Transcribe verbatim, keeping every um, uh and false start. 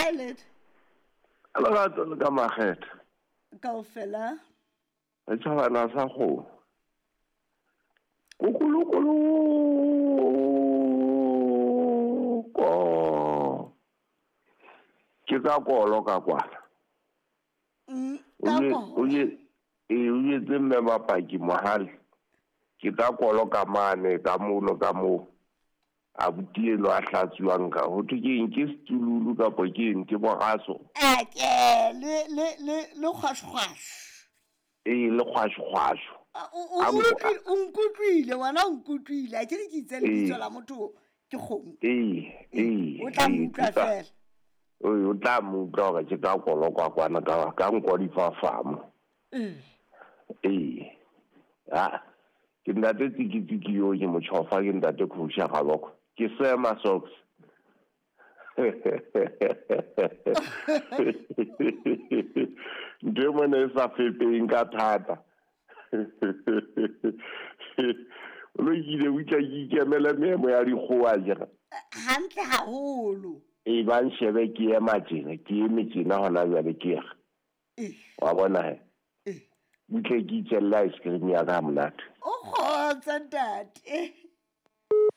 Hi, Led. Lerato le ka makgetha. Kaofela. Re tjhabana sa kgomo. Kukulukulu ko. Ke ka kolo ka kwana. Mm, O ka je- kolo. o je- ee, o jetse mme bapaki mohale. Ke ka kolo ka mane ka mono ka moo. Abuti eno a hlatsuwang ka ho thwe ke eng, ke setululu kapo ke eng, ke boraso. Ake, le le le le kgwashkgwash. Ee, le kgwashkgwasho. A, o- o A nko- utlwile- o nkutlwile, wena o nkutlwile. A ke re ke itse lebitso Ee. la motho ke kgomo. Ee, ee, O tla ee, mo utlwa ke ka- feela. Ee, o tla mo utlwa hore ke ka kolo kwa kwana ka, ka nko di fafamo. Ee. Ee. Ha, ke ntate tsikitsiki yo ke motjhofa, ke ntate Khusha Gaboko. Ke sema socks. Ntho e mona e sa fepeng ka thata. O lokile, o tla ke ikemele meemo ya dikgowa jena. Hantle haholo. E ba nshebe ke ema tjena, ke eme tjena hona jwale ke re. Eh. Wa bona he? Eh. Butle ke itjella ice cream ya ka ha monate. O kgotsa ntate.